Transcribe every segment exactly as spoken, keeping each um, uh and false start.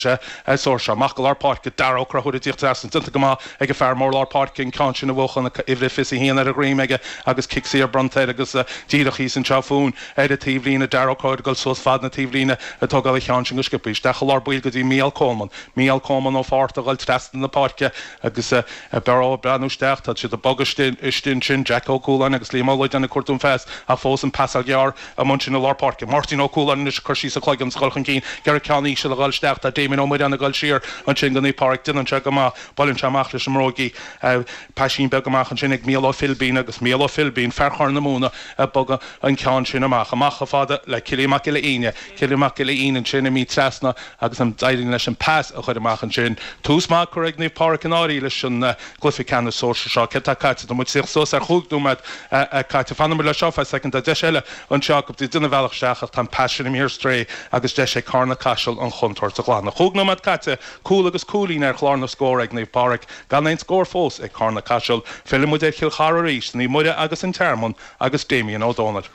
Sóirse amach go lár páirce Dara Ó Conchúir ag tíocht trasna déanta go maith ag an fear mór lár páirce an ceann sin a bhuachan uimhir fiche haon ar a dhroim aige agus cic saor bronnta air agus díreach thíos anseo fúinn ar an taobhlíne Dara Ó Conchúir dul suas fad na taobhlíne ag tógáil an cheann sin go sciobtha isteach i lár baill go dtí Mícheál Coleman. Mícheál Coleman ó Phort a dhul trasna na páirce agus Barrow ag breathnú isteach tá siad ag bogadh istigh ansin Jack Ó Cualáin agus Liam Ó Loideáin ag cuartú an phas ach fós an pasáil ghearr amuigh ansin i lár páirce. Máirtín Ó Cualáin anois ag cur síos a chloigeann is a dhul chun cinn ag iarraidh ceann íseal a dhul isteach tá Damien Ó Muireáin ag dul siar ansin go Naomh Pádraig déanann sé go maith buaileann sé amach leis an mbróigí paisín beag amach ansin ag Mícheál Ó Philbín agus Mícheál Ó Philbín fear Chorr na Móna ag bogadh an ceann sin amach amach chomh fada le Cillian Mac Giolla Fhíne Cillian Mac Giolla Fhíne ansin imithe trasna agus an d'éirigh leis an pas a chur amach ansin tús maith curtha ag Naomh Pádraig in áirithe leis an gcluiche ceannais sóisir seo céard atá caite tá muid suas ar chúig nóiméad caite fanfaidh muid le seo feadh soicind tá deis eile anseo go dtí duine bhealach isteach ach tá an pas sin imithe ar strae agus deis ag Carna Caiseal an chontúirt a ghlanadh. Chúig nóiméad caite cúl agus cúilín ar chlár na scór ag Naomh Pádraig gan aon scór fós ag Carna Caiseal filleann muid ar Chill Chartha arís Naomh Muire agus an Tearmann agus Damien Ó Dónaill.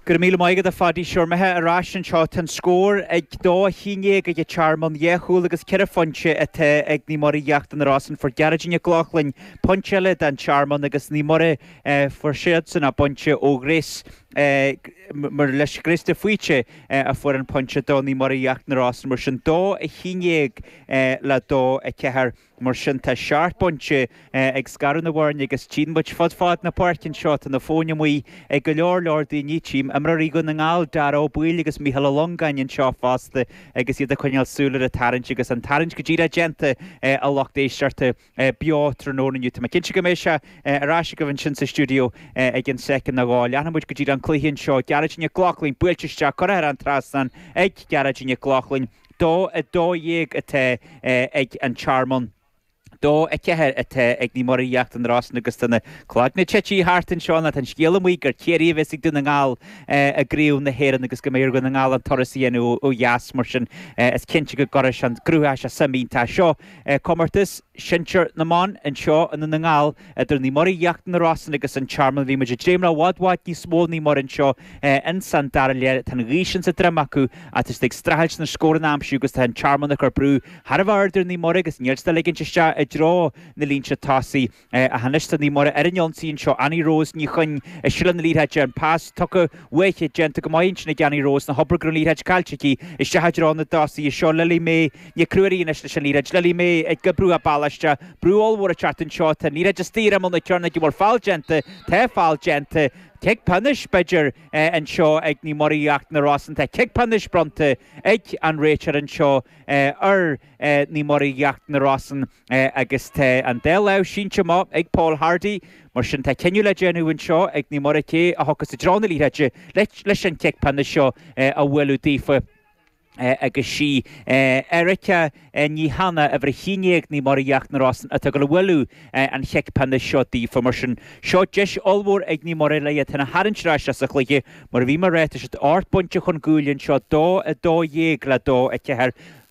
Go raibh míle maith agat a Phadaí sure muid ar ais anseo tá an scór ag dó a haon déag ag an Tearmann dhá chúl agus ceithre phointe atá ag Naomh Muire Íochtar na Rosann fuair Gearóidín Nic Lochlainn pointe eile don Tearmann agus Naomh Muire fuair siadsan a bpointe ó Ghrace mar leis Grace de Faoite a fuair an pointe do Naomh Muire Íochtar na Rosann mar sin dó a haon déag le dó a ceathair. Mar sin tá seacht bpointe ag scaradh na bhfoirne agus tchíonn muid fud fad na páirce anseo tá na fóin amuigh ag go leor leor daoine tchím imreoirí Dhún na nGall Dara Ó Baoill agus Mícheál Ó Longáin anseo fosta agus iad ag coinneáil súil ar an tarraingt agus an tarraingt go díreach déanta a lucht éisteachta beo tráthnóna inniu. Tá mé cinnte go mbeidh sé ar ais agaibh ansin sa stiúideo ag an soicind nó dhó. Leanfaidh muid go dtí an cluiche anseo Gearóidín Nic Lochlainn buailte isteach curtha ar an trasnán ag Gearóidín Nic Lochlainn dó a dó dhéag atá ag an Tearmann. Dó a ceathair atá ag Naomh Muire Íochtar na Rosann agus tá na cloigne tite thart anseo ná tá an scéal amuigh gur Ciarraí a bheas ag Dún na nGall i gCraobh na hÉireann agus go mbeidh ar Dhún na nGall an turas a dhéanamh ó dheas mar sin is cinnte go gcuirfidh sé an gcruthóidh sé suim iontach seo. Comórtas Sinsir na mBan anseo i nDún na nGall idir Naomh Muire Íochtar na Rosann agus an Tearmann bhí muid ag dréim le i bhfad bhfad níos mó Naomh Muire anseo ins an dara leath tá an ghaoth sin sa droim acu ach tá siad ag streachailt na scóranna a aimsiú agus tá an Tearmann ag cur brú thar a bheith ard ar Naomh Muire agus níl siad ag ligint isteach i dtreo na línte tosaigh ach anois tá Naomh Muire ar an ionsaí anseo Annie Rose Ní Chuinn ag sileadh na liathróide an pas tugtha uaithi déanta go maith ansin ag Annie Rose na hobair go raibh an liathróid caillte aici isteach i dtreo na dtosaithe seo Lily May Nic Ruairí anois leis an liathróid Lily May ag oibriú a bealach isteach brú ollmhór ag teacht anseo tá an liathróid istigh ar imeall na cearnóige bhfuil feall déanta tá feall déanta cic pionóis b'fhéidir anseo ag Naomh Muire Íochtar na Rosann tá cic pionóis bronnta ag an réiteoir anseo ar Naomh Muire Íochtar na Rosann agus tá an dá lámh sínte amach ag Paul Hardy mar sin tá cinneadh le déanamh anseo ag Naomh Muire cé a thiocfas i dtreo na liathróide leis an cic pionóis seo a bhualadh daofa. agus sí Erica Ní Hanna uimhir a haon déag Naomh Muire Íochtar na Rosann atá ag dul a bhualadh an chic pionóis seo daofa mar sin seo deis ollmhór ag Naomh Muire le iad féin a tharraingt ar ais as an chluiche mar a bhí mé ag rá tá siad ocht bpointe chun cúil anseo dó a dó dhéag le dó a ceathair.